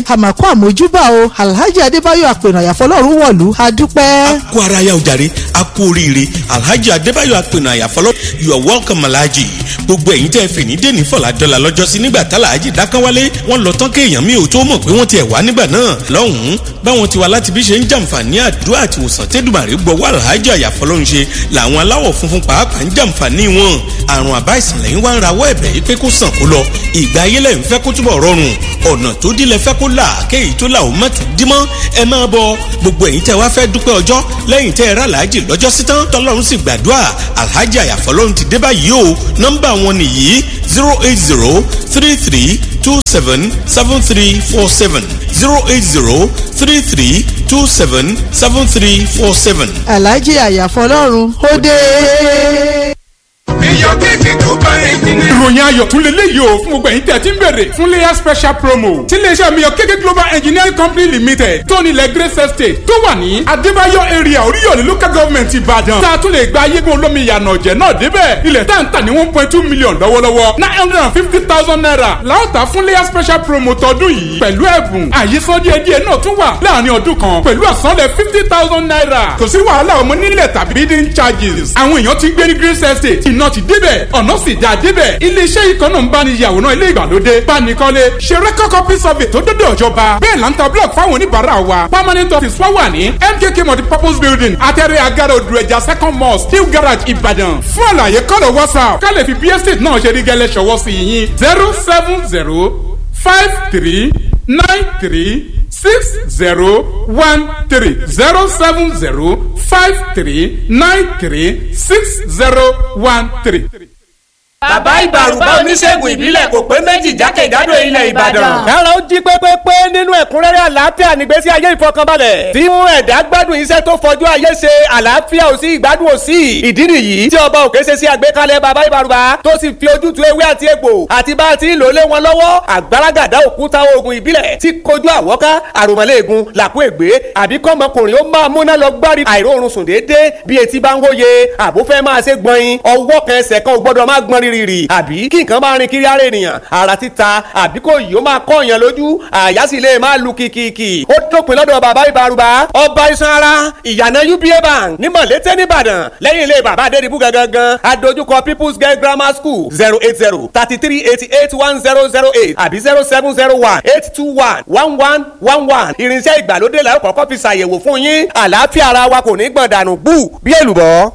Àmàkù àmójúbà o, Alhaji Adébáyọ̀ Àpènà Àyàfọlọ́run wọ̀lú, adúpẹ́. A kú ara ya ojàre, a kú oríire. Alhaji Adébáyọ̀ Àpènà Àyàfọlọ́, you are welcome, Alhaji. Gbogbo ẹ̀yin tẹ́ fè ní dèní fọ̀làdọ́là lọ́jọ́sí nígbà tálàájì dákánwálé, wọ́n lọ tán kéèyàn mi ò tó mọ̀ pé wọ́n ti ẹ̀ wá nígbà náà lọ́hùn-ún. Báwọn ti wá láti bí ṣe ń jàǹfààní àdúrà àti ìwòsàn tẹ́dùmàrè gbọ́wọ́ Alhaji Àyàfọlọ́run ṣe làwọn aláwọ̀ funfun pàápàá ń jàǹfààní wọn. Àrùn àbá ìsìnlẹ̀ ń wá ń rawọ́ ẹ̀bẹ̀ yìí pé kó sàn kó lọ, ìgbà ayé lẹ̀ ń fẹ́ kó túbọ̀ rọrùn, ọ̀nà tó dílé fẹ́ kó là, kéyìí tó là ó má tún dímọ́. Ẹ máa bọ gbogbo ẹ̀yin tẹ́ wá fẹ́ dúpẹ́ ọjọ́ lẹ́yìn tẹ́ ẹ rà láàjì lọ́jọ́ sí tán tọ́lọ́run sì gbàdúrà. Alhaji Àyàfọlọ́run ti dé báyìí o. Nọ́mbà wọn nìyí: 08033277347, 08033277347. Alhaji Àyàfọlọ́run ó dé. Ìròyìn ayọ̀ tún lè léyìí o fún gbogbo ẹ̀yin tẹ̀ tí ń bèrè fún layer special promo tí iléeṣẹ́ mi yọ kéké Global Engineering Company Limited tó nílẹ̀ Grace Estate tó wà ní Adébáyọ̀ area, Oríyọ̀lẹ̀ Local Government, Ìbàdàn, tá a tún lè gba ayégun olómi ìyànà ọ̀jẹ̀ náà débẹ̀. Ilẹ̀ tá n tà ní 1.2 million lọ́wọ́lọ́wọ́, ₦950,000 láòtà fún layer special promo tọdún yìí, pẹ̀lú ẹ̀bùn àyíṣán díẹ̀díẹ̀ náà tún wà láàrin ọdún kan pẹ̀lú àsanlẹ̀ ₦50,000. Kò sí wàhálà ọmọ nílẹ̀ tàbí bidding charges. Àwọn èèyàn ti gbé ní Grace Estate, iná ti débẹ̀, ọ̀nà sì dá débẹ̀. Iléeṣẹ́ yìí kan náà ń bá ní yàwòrán ilé ìgbàlódé, bánikọ́lé, ṣe record copy survey tó dọ́dọ̀ ìjọba. Bẹ́ẹ̀ là ń ta block fáwọn oníbàárà wa. Permanent office wa wà ní MKK Multipurpose Building, Atẹ́rẹ́ Agara, Odò Ẹja Second Mosque, New Garage, Ìbàdàn. Fún àlàyé, kọ́lọ̀ WhatsApp ká lè fi bí estate náà ṣe rí gẹ́lẹ́ ṣọwọ́ sí yín: 07053936013, 07053936013. Bàbá Ìbàrùbá, oníṣègùn ìbílẹ̀ kò pé méjì jákèjádò ilẹ̀ Ìbàdàn. Kára ó jí pépépé nínú ẹ̀kúnrẹ́rẹ́ àlàáfíà nígbésí ayé ìfọkànbalẹ̀ tí mú ẹ̀dá gbádùn iṣẹ́ tó fojú ayé ṣe. Àlàáfíà ò sí, ìgbádùn ò sí. Ìdí nìyí tí Ọba Òkè ṣe sí àgbékalẹ̀ Bàbá Ìbàrùbá tó sì fi ojútùú ewé àti egbò àti bá a ti ń lò lé wọn lọ́wọ́. Àgbàràgàdá òkúta oògùn ìbílẹ̀ tí kojú àwọ́ká, àròmọ́lẹ́ẹ̀gùn, làkú ègbé, àbí kọ́mọkùnrin ó máa múná lọ gbárí àìróorun sùn déédéé bí etí bá ń wóye, àbúfẹ́ máa ṣe gbọ̀nyin, ọwọ́ kan ẹsẹ̀ kan ò gbọ́dọ̀ má gbọ́n rírì, àbí kí nǹkan máa rin kiri ara ènìyàn, ara títa, àbí kò yìí ó máa kọ́ èèyàn lójú, àyà sì lè máa lu kìkìkì. Ó dópin lọ́dọ̀ Bàbá Ìbàrùbá, ọba iṣan ara, ìyànà UBA Bank ní Mọ̀lété nìbàdàn, lẹ́yìn ilé Bàbá Adédìbú gangan, adójúkọ People's Girl Grammar School. 08033881008 àbí 07018211111. Irinṣẹ́ ìgbàlódé la ó kọ́kọ́ fi ṣàyẹ̀wò fún yín. Àlàáfíà ara wa kò ní gbọ̀n dànù bú bí èlùbọ́.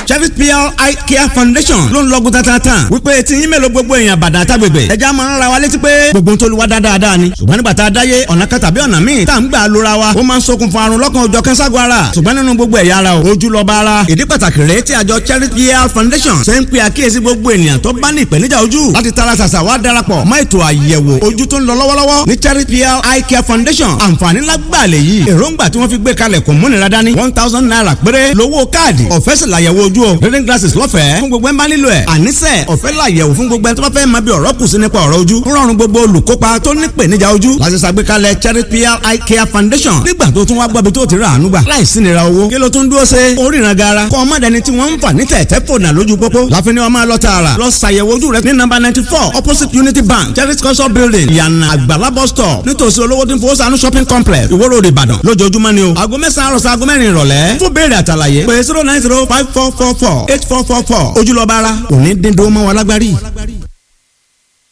Chevy PL Eye Care Foundation ló ń lọ́gùn tatata wípé tí yín mélòó gbogbo èèyàn bàdà tágbègbè ẹja máa ń ra wa létí pé gbogbo tó lu wa dáadáa ni. Ṣùgbọ́n nígbà tá a dáyé ọ̀nà kan tàbí ọ̀nà míì tá à ń gbà lóra wa, ó máa ń ṣokùnfà àrùn lọ́kàn òjọ̀ kẹ́sàgọ́ ara. Ṣùgbọ́n nínú gbogbo ẹ̀yà ara o, ojú lọ́ba ara. Ìdí pàtàkì rèé tí àjọ Chevy PL Foundation ṣe ń pe àkíyèsí gbogbo ènìyàn tó bá ní ìpèníjà ojú láti tara ṣàṣà wá darapọ̀ mọ́ ètò àyẹ̀wò ojú tó ń lọ lọ́wọ́lọ́wọ́ ní Chevy PL Eye Care Foundation. Àǹfààní lágbàlẹ̀ yìí, èròǹgbà tí wọ́n fi gbé kalẹ̀ kò múnira dání. ₦1,000 péré lówó káàdì, ọ̀fẹ́ sì làyẹ̀wò ojú o. Reading glasses lọ́fẹ̀ẹ́ fún gbogbo ẹ̀ máa nílò ẹ̀. Àníṣe ọ̀fẹ́ làyẹ̀wò fún gbogbo ẹ̀ tó bá fẹ́ máa bí ọ̀rọ̀ kù sí nípa ọ̀rọ̀ ojú. Rọrùn gbogbo olùkópa tó ní ìpèníjà ojú láti ṣàgbékalẹ̀ Charity PL Eye Care Foundation. Nígbà tó tún wá gbọ́bi tó ti rà àánú gbà láìsí nira owó, kí ló tún dúró ṣe oríran gara? Kọ́ ọmọdéni tí wọ́n ń fà ní tẹ̀tẹ̀ fònà lójú pópó láfi ni wọ́n máa lọ tààrà lọ ṣàyẹ̀wò ojú rẹ ní nọ́mbà 94, opposite Unity Bank, Charity Culture Building, Ìyànà Àgbàlá bus stop, nítòsí olówó tí ń fowó sànú shopping complex, Ìwó Road, Ìbàdàn, lójoojúmọ́ ni o. Aago 9 àròsọ, aago 4 ìrọ̀lẹ́. Fún béèrè àtàlàyé, pé 09054448444. Ojúlọ́ba ara òní dín dúró mọ́ wọn lágbárí.